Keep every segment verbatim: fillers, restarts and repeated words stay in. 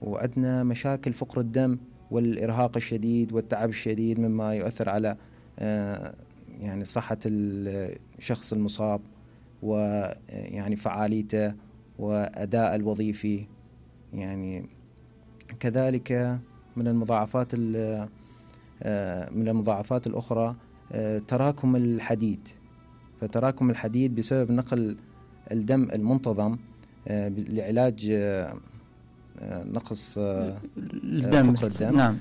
وعندنا مشاكل فقر الدم والإرهاق الشديد والتعب الشديد مما يؤثر على يعني صحة الشخص المصاب ويعني فعاليته وأداء الوظيفي. يعني كذلك من المضاعفات من المضاعفات الأخرى تراكم الحديد. فتراكم الحديد بسبب نقل الدم المنتظم لعلاج نقص الدم فقر الدم نعم.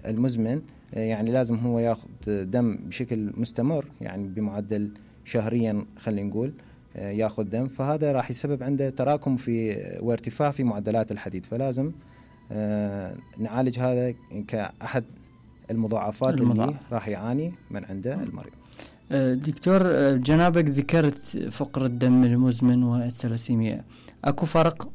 المزمن، يعني لازم هو ياخذ دم بشكل مستمر، يعني بمعدل شهريا خلينا نقول ياخذ دم، فهذا راح يسبب عنده تراكم في وارتفاع في معدلات الحديد. فلازم نعالج هذا كأحد المضاعفات المضاعف. اللي راح يعاني من عنده المريض. دكتور، جنابك ذكرت فقر الدم المزمن والثلاسيميا، اكو فرق؟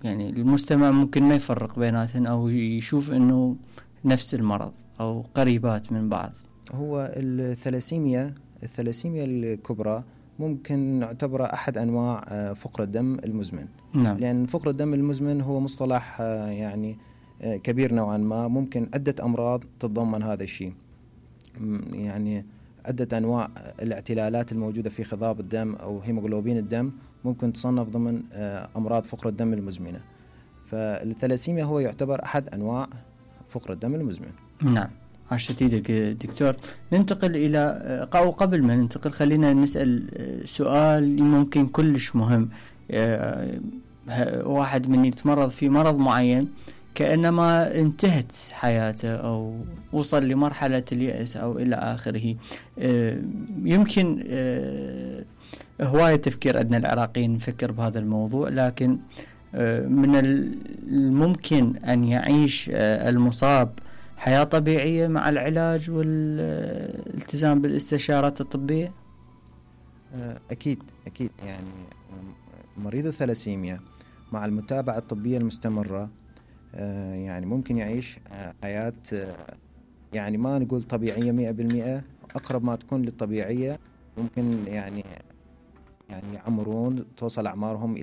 يعني المجتمع ممكن ما يفرق بيناتهم أو يشوف أنه نفس المرض أو قريبات من بعض. هو الثلاسيميا الثلاسيميا الكبرى ممكن نعتبره أحد أنواع فقر الدم المزمن. نعم. لأن فقر الدم المزمن هو مصطلح يعني كبير نوعا ما، ممكن عدة أمراض تتضمن هذا الشيء. يعني عدة أنواع الاعتلالات الموجودة في خضاب الدم أو هيموغلوبين الدم ممكن تصنف ضمن أمراض فقر الدم المزمنة. فالثلاسيميا هو يعتبر أحد أنواع فقر الدم المزمن. نعم، عشت ايدك دكتور. ننتقل إلى أو قبل ما ننتقل خلينا نسأل سؤال ممكن كلش مهم. واحد من يتمرض في مرض معين كأنما انتهت حياته أو وصل لمرحلة اليأس أو إلى آخره، يمكن هواية تفكير عندنا العراقيين نفكر بهذا الموضوع، لكن من الممكن أن يعيش المصاب حياة طبيعية مع العلاج والالتزام بالاستشارات الطبية؟ أكيد أكيد. يعني مريض الثلاسيميا مع المتابعة الطبية المستمرة يعني ممكن يعيش حياة يعني ما نقول طبيعية مئة بالمئة، أقرب ما تكون للطبيعية. ممكن يعني يعني يعمرون توصل أعمارهم إلى